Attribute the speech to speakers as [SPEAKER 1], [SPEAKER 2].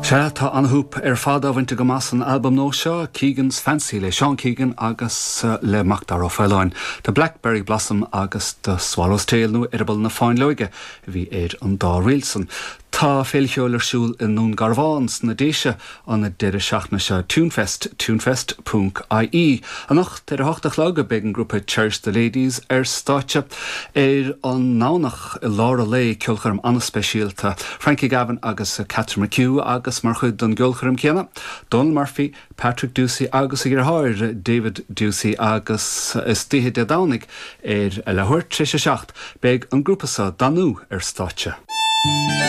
[SPEAKER 1] Sea, tá an-shúp ar fad á bhaint agam as an albam nua seo, Keegan's Fancy le Seán Keegan agus le Macdara Ó Faoláin. The Blackberry Blossom agus The Swallow's Tail nó Eireaball na Fáinleoige a bhí ar an dá ríl san. Tá Féile Cheoil ar siúl i nDún Garbhán sna Déise an deireadh seachtaine seo, Tunefest, tunefest ponc ie. Anocht ar a hocht a chlog beidh an grúpa Cherish the Ladies ar stáitse. Ar an nDomhnach i lár an lae, ceolchoirm an-speisialta, Frankie Gavin agus Catherine McHugh agus mar chuid den gceolchoirm céanna, Donal Murphy, Patrick Ducey agus a dheartháir David Ducey agus istoíche Dé Domhnaigh ar a leathuair tar éis a 7 beidh an grúpa seo, Danú, ar stáitse.